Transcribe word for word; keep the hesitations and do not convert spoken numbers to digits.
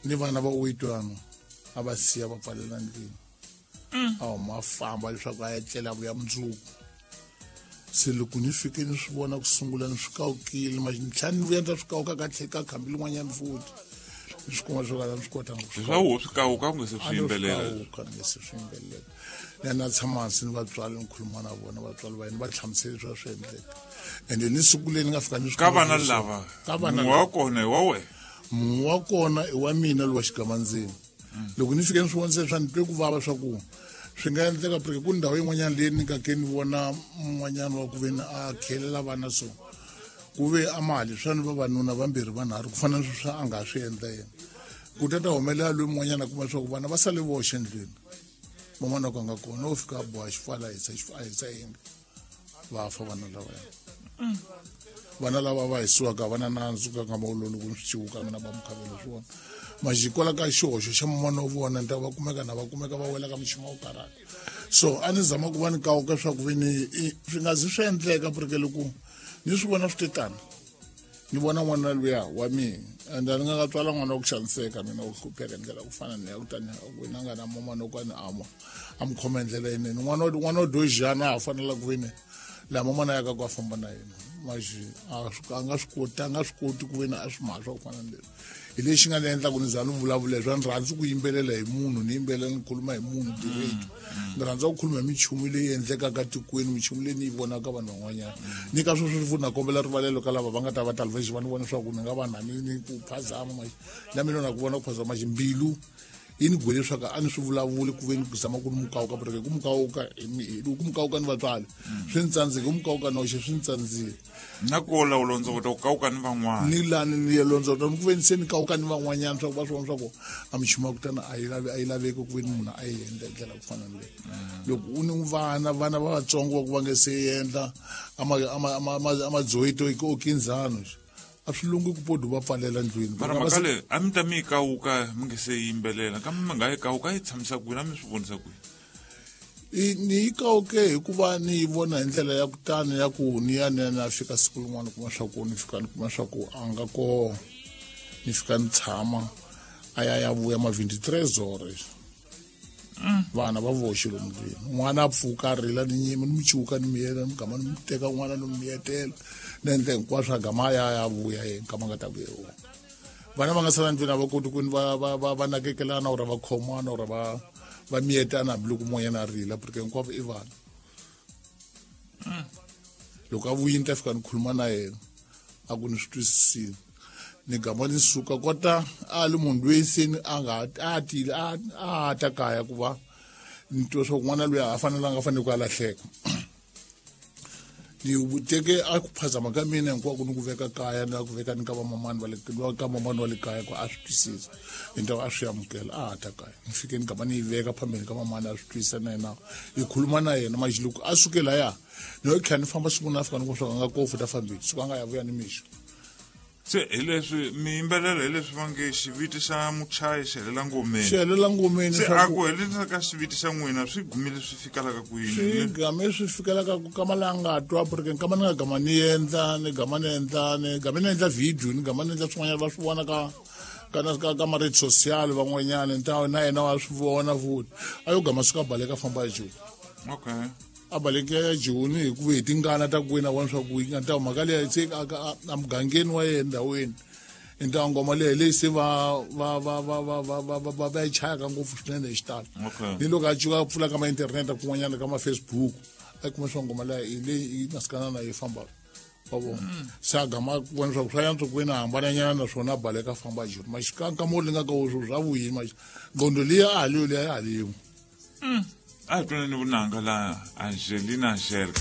Ni vana va uitwana a va siya va pfalela ndlwini. A huma a famba leswaku a ya tlela vuya mundzuku. Se loko ni fike ni swi vona ku sungula ni swi kawukile ma ni tlhela ni vuya ni ta swi kawuka ka tlhela ka khambi lin'wanyana futhi. Ni swi kuma swo ka ni swi kotanga ku swi swa wo swi kawuka ku nga se swi yimbelela. Kawuka ni se swi yimbelela. Na na tshama hansi ni vatswari ni khuluma na vona vatswari va yena va hlamusela leswi a swi endleka. Ende ni siku leri ni nga fika ni swi Ka vana lava Ka vana mun'we wa kona i wa wena. Mun'we wa kona i wa mina lowa xigamandzeni. Loko ni fike ni swi vona swa ni twe ku vava swa ku swi nga endleka porque ku ndhawu yin'wanyana leyi ni nga ke ni vona mun'wanyana wa ku ve ni a khelela vana so ku ve a mali swa ni vavanuna vambirhi vanharhu ku fana na sweswi a nga swi endla yena. Ku ta ta humelela loyi mun'wanyana a kuma leswaku vana va sale voxe endlwini. Van'wana ku nga kona wo fika a boha xifala a hisa a hisa yindlu va fa vana lavaya. Vana lava va hisiwaka va na nandzu ka nkama wolowo loko ni swi ciwuka mina va mukhavelo swi vona. Majikola ka xihoxo xa man'wana wa vona ni ta va kumeka na va kumeka va wela ka muchini wa ku karhata. So a ni zama ku va ni kawuka leswaku ve ni swi nga zi swi endleka porque loko ni swi vona swi te tano ni vona n'wana luya wa mina and a ni nga nga tswala n'wana wa ku xaniseka mina wa ku hlupheka hi ndlela ku fana ni ya kutani wena nga na man'wana wa ku a ni ama a mi khoma hi ndlela yinene. N'wana wa n'wana wa dojana a ha fanela ku ve ni laha man'wana ya ka ku a famba na yena maxi a a nga swi koti a nga swi koti ku ve ni a swi mhaka swa ku fana ni leswi. Hi lexi nga ni endla ku ni za ni vulavula hi swa ni rhandzi ku yimbelela hi munhu ni yimbelela ni khuluma hi munhu direct. Ni rhandza ku khuluma hi minchumu leyi endlekaka tikweni minchumu leyi ni yi vonaka vanhu van'wanyana. Ni ka sweswo futhi na kombela rivalelo ka lava va nga ta va talvexi va ni vona leswaku ni nga va na ni ni ku phazama maxi na mina na ku vona ku phazama maxi mbilu yi ni gwele leswaku a ni swi vulavuli ku ve ni zama ku ni mukawuka porque ku mukawuka ku mukawuka ni vatswari swi ni tsandzile ku mukawuka noxe swi ni tsandzile. Na ko la u londzovota ku kawuka ni van'wana. Ni lani ni ya londzovota ni ku ve ni se ni kawuka ni van'wanyana swa ku va swi vona swa ku a minchumu ya kutani a yi lavi a yi laveki ku ve ni munhu a yi endla hi ndlela ku fana ni leyi. Loko u ni vana vana va vatsongo va ku va nge se endla a ma a ma a ma a ma dzoyito o kinzano a swi lungi ku podi va pfalela ndlwini. Mara mhaka leyi a mi ta mi yi kawuka mi nge se yimbelela kambe mi nga yi kawuka yi tshamisa kwini a mi swi vonisa kwini? Ni yi kawuke hikuva ni yi vona hi ndlela ya kutani ya ku ni ya ni ya ni ya fika siku rin'wana kuma swa ku ni fika ni kuma swa ku a nga koho ni fika ni tshama a ya ya vuya ma vingt-trois heures. Vana va voxe lomu ndlwini. N'wana a pfuka a rila ni nyima ni mu ciwuka ni miyela ni gama ni mu teka n'wana ni mu miyetela ni endla hinkwaswo a gama a ya ya vuya yena nkama a nga ta vuya wona. Vana va nga sala ndlwini a va koti ku ni va va va va nakekelana or va khomana or va va miyetana hambiloko mun'wanyana a rila porque hinkwavo i vana. Loko a vuyile ni ta fika ni khuluma na yena a ku ni swi twisisile. Ni gama ni suka kota a li munhu loyi se ni a nga a tile a a ta kaya ku va ni twa swa ku n'wana loyi a fanelanga a fanele ku a lahleka. Ni teke a ku phazama ka mina hinkwako ni ku veka kaya na ku veka ni ka vamamani va le ka mamani wa le kaya ku a swi twisisa hi ndhawu a swi amukela a ha ta kaya. Ni fike ni gama ni yi veka phambeni ka mamani a swi twisisa na yena hi khuluma na yena maxi loko a suke laya ni yo tlhela ni famba siku na fika ni ku swa nga kofu ta fambile siku a nga ya vuya ni mixo. Se hi leswi mi yimbelela hi leswi va nge xiviti xa muchayi xi helela ngomeni. Xi helela ngomeni Se swa a ku ku helela ka xiviti xa n'wina swi gumile swi fikelaka kwini? Swi game swi fikelaka ku kama la nga twa porque nkama ni nga gama ni endla ni gama ni endla ni game ni endla video ni gama ni endla swin'wanyana va swi vona ka ka na ka ka ma-rede social van'wanyana ni ta na yena wa swi vona futhi a yo gama suka baleka famba ya Joni. Okay. A baleke ya Joni hikuva hi tingana ta ku wena vona swa ku yi nga ta mhaka leyi se a ka a mugangeni wa yena ndhawini hi ta ngoma leyi leyi se va va va va va va va va va va yi chayaka ngopfu swinene hi xitalo. Okay. Ni loko a cuka a pfula ka ma internet kun'wanyana ka ma Facebook a kuma swa ngoma leyi hi leyi yi masikana na yi fambaka. Wa vona. Se a gama ku vona swa ku swa yantswa ku wena hambananyana naswona a baleka a famba a Joni. Maxi ka nkama wo linga ka wo swa vuyini maxi ngqondo liya a ha liyo liya ya ha liyo. A hi twaneni vunanga la Angelina Sherka.